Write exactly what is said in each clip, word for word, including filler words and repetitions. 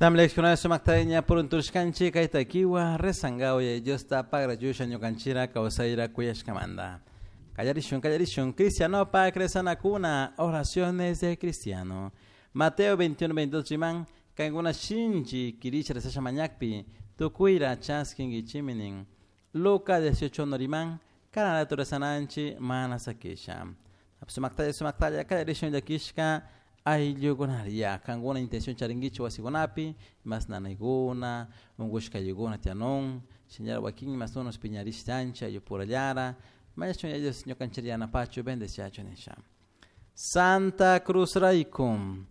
Tamlecciones sumaktaña puruntushkanchik kaytakiwa rezangaw Diosta pagrachusha ñukanchira kawsayra kuyashkamanta. Kallarishun, kallarishun, cristiano pa rezanakuna, oraciones de cristiano. Mateo veintiuno, veintidós riman, kankuna shinchi kirisha rezasha mañakpi, tukuyra chaskinkichiminin. Lucas dieciocho noriman, kanaratu rezananchi mana sakisha. Sumaktalla, sumaktalla, kallarishun llakishka, ayllukunaria, kankuna intención charinkichi wasikunapi, mas nanaykuna, unkushkayukuna tianun, señora wakin mas unos piñarishtancha, ayllupurallara, mañachun ellos ñukanchik yanapachu, bendeciachu nisha. Santa Cruz raykum,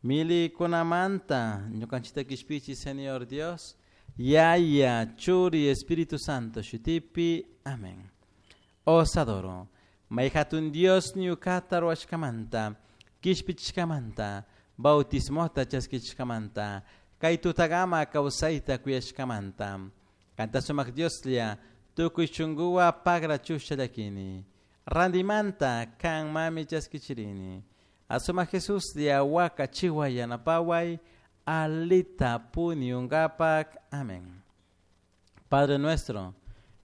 milikunamanta, ñukanchikta kishpichi, Señor Dios, Yaya, Churi, Espíritu Santo, shutipi, amén. Os adoro, mayhatun Dios ñukata ruwashkamanta, kishpichishkamanta, bautismota chaskichishkamanta, kay tutagama kawsayta kuyashkamanta. Kanta sumak Dioslla, tukuy shunkuwa pagrachusha llakini. Randimanta kan mami chaskichirini. Asumak Jesuslla waka chiwa yanapaway, alita puniungapak. Amén. Padre nuestro,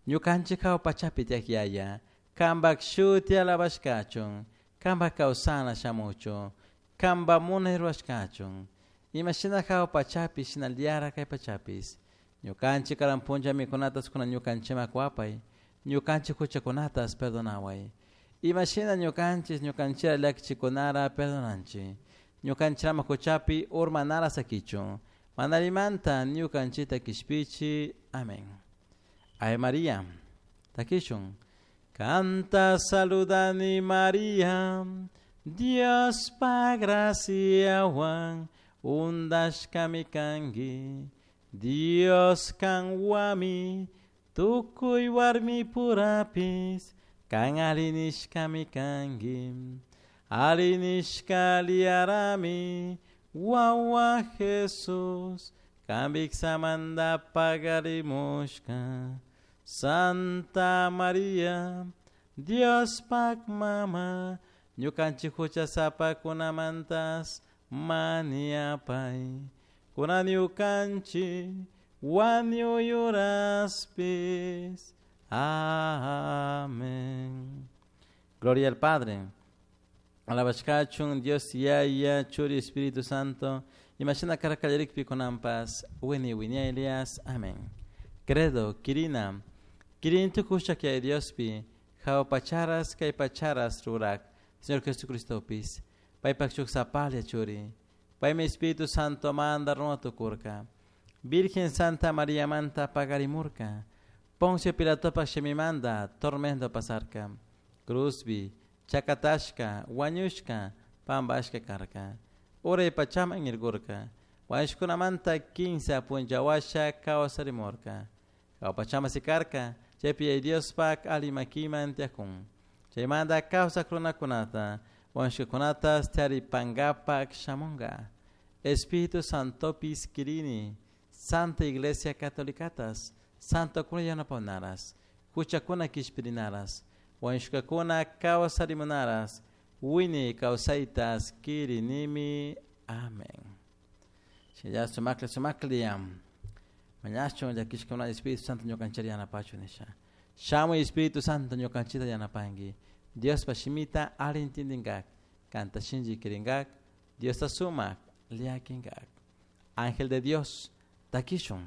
ñukanchik hawa pachapi tiyak Yaya, kanpak shuti alabashkachun, kanpak kawsana shamuchun, kanpak munay rurashkachun. Imashina hawa pachapi shinallara kay pachapis. Ñukanchik karan punlla mikunatas kuna ñukanchikman kuwapay, ñukanchik huchakunatas perdonaway. Imashina ñukanchik ñukanchira llakichikunara perdonanchik. Ñukanchirama huchapi urmanara sakichun. Manarimanta ñukanchikta kishpichi. Amén. Ave María, takishun. Canta saludani María, Dios pa graciawan, undashkami kanki, Dios kanwami, tukuy warmi purapis, kan alinishkami kanki, alinishka liarami, wawa Jesus, kambiksamanda pagarimushka. Santa María, Dios pak mama, ñukanchik huchasapakunamantas maniapay, kuna ñukanchik wañuyuraspis. Amén. Gloria al Padre. Alabashkachun Dios Yaya, Churi Espíritu Santo, imashina karkallarikpi kunampas, wini wiña Elias. Amén. Credo, Kirina, Kirin tukusha kay Diospi, hawa pacharas kay pacharas rurak, Señor Jesucristopis, paypak shuk sapalla churi, paymi Espíritu Santo manda runa tukurka, Virgen Santa María manta pagarimurka, Poncio Pilatopak shimimanda tormento pasarka, Cruzbi, chakatashka, wañushka, pambashka karka, uray pachaman irgurka, wañushkunamanta kinsa punllawasha kawsarimurka, hawa pachama sikarka, chaypi yaya Diospak alimakiman tiyakun, chaymanta kawsak runakunata, wañushkakunatas taripankapak shamunka, Espíritu Santopis kirini, Santa Iglesia Catolicatas, Santo kuna yanapanaras, huchakuna kishpirinaras, wañushkakuna kawsarimunaras, wini kawsaytas kirinimi. Amén. Shilla sumakli sumakli mañachun llakishkuna Espíritu Santo ñukanchiri yanapachu nisha. Shamuy Espíritu Santo ñukanchita yanapanki. Diospa shimita alli entiendinkak, kanta shinchi kirinkak, Diosta sumak llakinkak. Ángel de Dios, takishun.